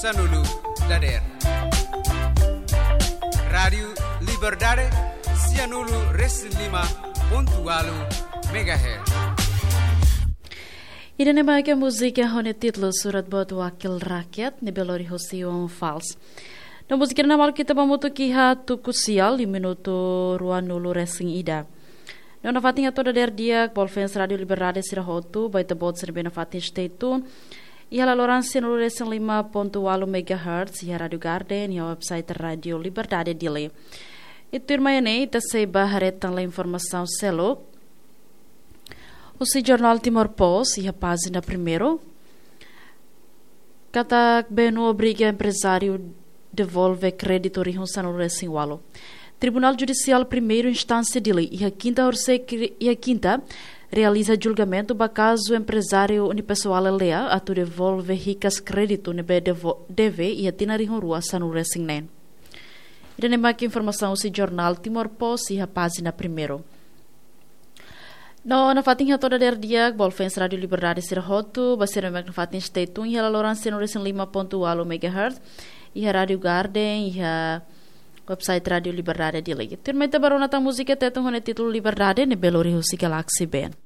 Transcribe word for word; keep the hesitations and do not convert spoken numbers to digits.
Sanulu dader. Rádiu Liberdade, sianulu resin lima pontu walu megahertz. Ida-ne'e mak múzika ho nia títulu Surat Buat Wakil Rakyat, ne'ebé lori husi Iwan Fals. No múzika ne'e mak ita ba hamutuk iha tuku sia, iha minutu ruanulu resin ida. No nafatin hato'o dader di'ak ba fans Rádiu Liberdade sira hotu, ba ita-boot sira ne'ebé nafatin stay tune iha laloran sianulu resin lima pontu walu megahertz, iha Rádiu Garden, iha website Rádiu Liberdade Dili. I tuirmai ne'e, ita sei ba haree tan informasaun seluk husi jornál Timor Post, iha pájina primeiru. Katak BNU obriga emprezáriu devolve kréditu rihun sanulu resin walu. Tribunál Judisiál Primeira Instánsia Dili, iha kinta horisehik, iha kinta, realiza julgamentu ba kazu emprezáriu unipessoal aldeia atu devolve hikas kréditu ne'ebé devo-, deve iha tinan rihun rua sanulu resin neen. Ida-ne'e mak informasaun husi jornál Timor Post iha pájina primeiru. No nafatin hato'o dader di'ak ba fans Rádiu Liberdade sira hotu, ba sira ne'ebé nafatin stay tune iha laloran sianulu resin lima pontu walu megahertz, iha Rádiu Garden, iha website Rádiu Liberdade Dili. Tuirmai ita ba rona tan múzika Tetun ho nia títulu Liberdade, ne'ebé lori husi Galaxy Band.